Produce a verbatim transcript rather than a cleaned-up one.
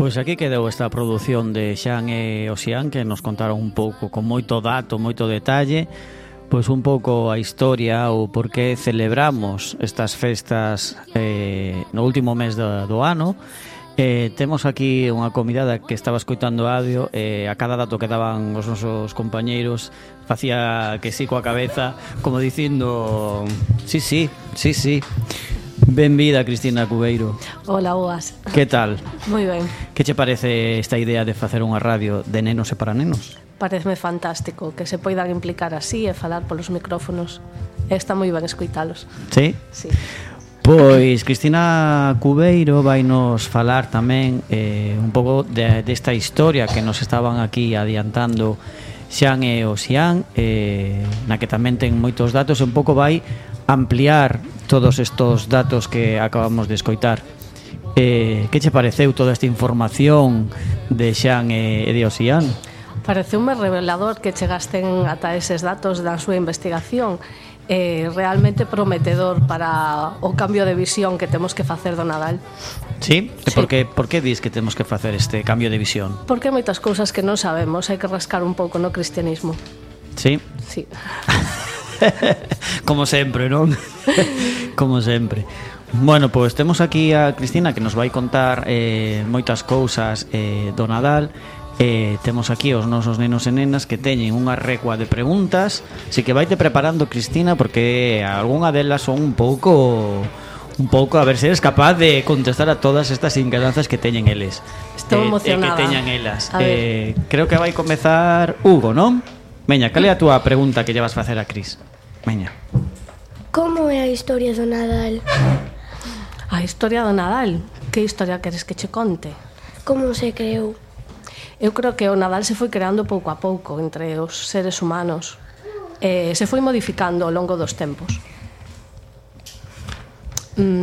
Pois aquí quedou esta produción de Xan e Osián, que nos contaron un pouco, con moito dato, moito detalle, pois un pouco a historia ou por que celebramos estas festas eh, no último mes do, do ano. Eh, temos aquí unha convidada que estaba escoitando audio, eh, a cada dato que daban os nosos compañeiros facía que sí coa cabeza, como dicindo sí, sí, sí, sí. Benvida, Cristina Cubeiro. Hola, boas. Que tal? Moi ben. Que che parece esta idea de facer unha radio de nenos e para nenos? Pareceme fantástico que se poidan implicar así e falar polos micrófonos. Está moi ben escoitalos. Sí? Sí. Pois Cristina Cubeiro vai nos falar tamén eh, un pouco de, desta historia que nos estaban aquí adiantando Xan e Osián, eh, na que tamén ten moitos datos, e un pouco vai ampliar todos estos datos que acabamos de escoitar. Eh, que che pareceu toda esta información de Xan e de Osián? Pareceume revelador que chegasten ata eses datos da súa investigación. Eh, realmente prometedor para o cambio de visión que temos que facer do Nadal. Sí? E Sí. por que, por que dis que temos que facer este cambio de visión? Porque hai moitas cousas que non sabemos, hai que rascar un pouco no cristianismo. Sí? Sí. Como sempre, non? Como sempre. Bueno, pois temos aquí a Cristina que nos vai contar eh, moitas cousas eh, do Nadal. Eh, temos aquí os nosos nenos e nenas que teñen unha recua de preguntas. Así que vaite preparando, Cristina, porque algunha delas son un pouco un pouco a ver se eres capaz de contestar a todas estas inquedanzas que teñen eles. Estou eh, emocionada. E que teñan elas. A Eh, creo que vai comezar Hugo, non? Veña, cal é a túa pregunta que lle vas facer a Cris? Veña. Como é a historia do Nadal? A historia do Nadal. Que historia queres que che conte? Como se creou? Eu creo que o Nadal se foi creando pouco a pouco entre os seres humanos. Eh, se foi modificando ao longo dos tempos. Mm,